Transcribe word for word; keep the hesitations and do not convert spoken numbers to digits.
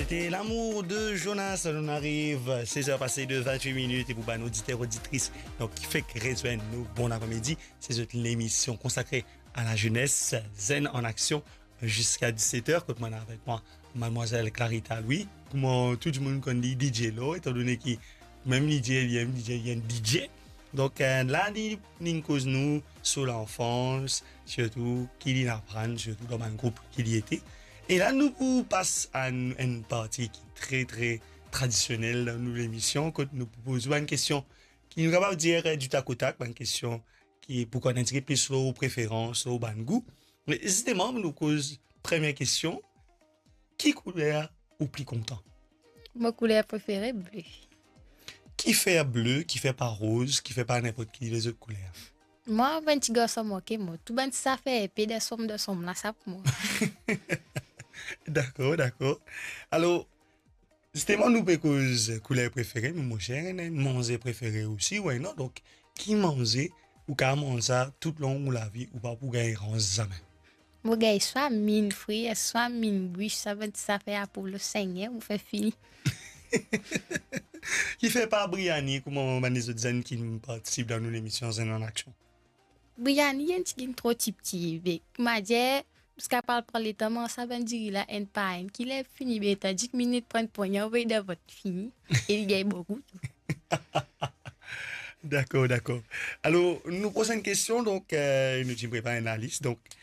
C'était L'amour de Jonas. Nou ariv, sez er pase de vintwit minit, e pou bann oditer, oditris, donk, ki fek rezwenn nou, bon apre-midi. Se zot lemision konsakre a lazenes, Zenn an Aksion, ziska diset er, kot mwa avek mwa, madmwazel Clarita Louis. Kouma tou dimoun konn li, DJ Lo, etandone ki mem li dir li enn DJ, li enn DJ. Donk, eh, la, li, li koz nou sir lanfans, sirtou ki li aprann, sirtou dan bann group ki li ete. E la, nou pou pas a enn, enn parti ki tre, tre tradisionel dan nou lemision, kot nou pou poz ou bann kestion ki nou kapav dir, eh, du tac au tac, bann kestion ki pou konn enn tigit plis lor preferans, lor bann gou. Me zisteman, nou koz premie kestion, ki kouler ou pli kontan? Mo kouler prefere, ble. Kifer ble, kifer pa roz, kifer pa ninport ki lezot kouler? Mwa, bann ti garson manke mwa. Tou bann ti zafer epe dan sonm, dan sonm la, sa pou mwa. Dakor, dakor. Alor, zisteman, nou pe koz kouler prefere, me mo zer, ena enn manze prefere osi, why not? Donk, ki manze ou kapav manz sa toutlong ou lavi, ou pa pou gagn rans zame? Mo gagn swa minn frir, swa minn bwis, sa bann ti zafer apel sengler, mo fer fini. Kifer pa briani, kouma bann lezot zenn ki partisip dan nou lemision Zenn an Aksion? Briani, enn tigit tro tipti, be, kouma dir, ziska pral pran letan manz sa bann diri la enn par enn, ki ler fini, be, tandik minit pran enn pwagn, anvoy dan vant, fini, e li gagn boukou tou. Dakor, dakor. Alor, nou prosenn kestion, donk, eh, nou ti prepar enn lalis, donk,